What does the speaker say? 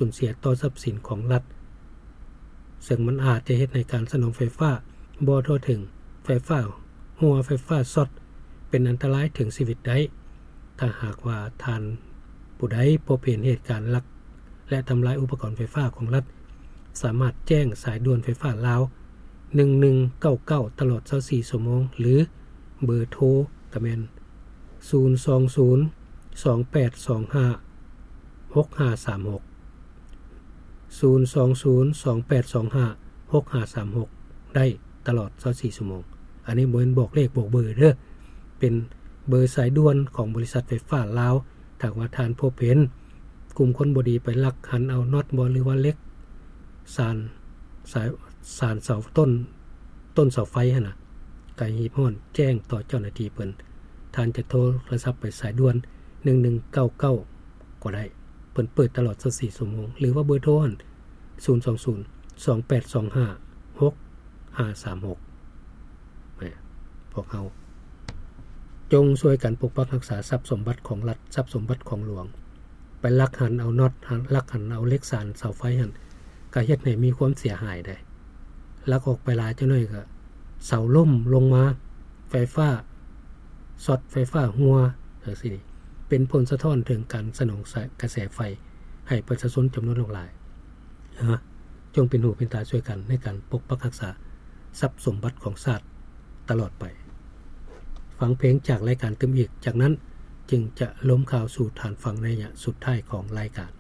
ສູນເສຍຕໍ່ຊັບສິນຂອງລັດ, ເຊິ່ງມັນອາດຈະເຮັດໃຫ້ການສະໜອງໄຟຟ້າບໍ່ທົ່ວເຖິງ, ໄຟຟ້າຮົ່ວ, ໄຟຟ້າຊັອດ ເປັນອັນຕະລາຍເຖິງຊີວິດໄດ້. ຖ້າຫາກວ່າທ່ານຜູ້ໃດພົບເຫັນເຫດການລັກ ແລະ ທຳລາຍອຸປະກອນໄຟຟ້າຂອງລັດ, ສາມາດແຈ້ງສາຍດ່ວນໄຟຟ້າລາວ ໜຶ່ງໜຶ່ງເກົ້າເກົ້າ ຕະຫຼອດຊາວສີ່ຊົ່ວໂມງ ຫຼື ເບີໂທກະແມ່ນ ສູນສອງສູນ ສອງແປດສອງຫ້າ ຫົກຫ້າສາມຫົກ ສູນສອງສູນ ສອງແປດສອງຫ້າ ຫົກຫ້າສາມຫົກ ໄດ້ຕະຫຼອດຊາວສີ່ຊົ່ວໂມງ. ອັນນີ້ບໍ່ແມ່ນບອກເລກບອກເບີເດີ້, ເປັນເບີສາຍດ່ວນຂອງບໍລິສັດໄຟຟ້າລາວ. ຖ້າວ່າທ່ານພົບເຫັນກຸ່ມຄົນບໍ່ດີໄປລັກຫັນເອົານັອດບໍ ຫຼືວ່າເຫຼັກສານ ສາຍ ສານເສົາຕົ້ນ ຕົ້ນເສົາໄຟຫັ້ນນະ, ກໍຮີບຮ້ອນແຈ້ງຕໍ່ເຈົ້າໜ້າທີ່ເພິ່ນ. ທ່ານຈະໂທລະສັບໄປສາຍດ່ວນ ໜຶ່ງໜຶ່ງເກົ້າເກົ້າ ກໍໄດ້, ເພິ່ນເປີດຕະຫຼອດຊາວສີ່ຊົ່ວໂມງ ຫຼືວ່າເບີໂທຫັ້ນ ສູນສອງສູນ ສອງແປດສອງຫ້າ ຫົກຫ້າສາມຫົກ. ແມ່ນ ພວກເຮົາຈົ່ງຊ່ວຍກັນປົກປັກຮັກສາຊັບສົມບັດຂອງລັດ, ຊັບສົມບັດຂອງຫຼວງ. ໄປລັກຫັນເອົານັອດ, ລັກຫັນເອົາເຫຼັກສານເສົາໄຟຫັ້ນ ກໍເຮັດໃຫ້ມີຄວາມເສຍຫາຍໄດ໋. ລັກອອກໄປຫຼາຍຈັກໜ້ອຍກໍເສົາລົ້ມລົງມາ, ໄຟຟ້າຊັອດ, ໄຟຟ້າຮົ່ວ ຈັ່ງຊີ້ ເປັນຜົນສະທ້ອນເຖິງການສະໜອງກະແສໄຟໃຫ້ປະຊາຊົນຈຳນວນຫຼວງຫຼາຍ. ເອີ ຈົ່ງເປັນຫູເປັນຕາຊ່ວຍກັນໃນການປົກປັກຮັກສາຊັບສົມບັດຂອງຊາດຕະຫຼອດໄປ. ຟັງເພງຈາກລາຍການຕື່ມອີກ, ຈາກນັ້ນຈຶ່ງຈະລົມຂ່າວສູ່ທ່ານຟັງໃນໄລຍະສຸດທ້າຍຂອງລາຍການ.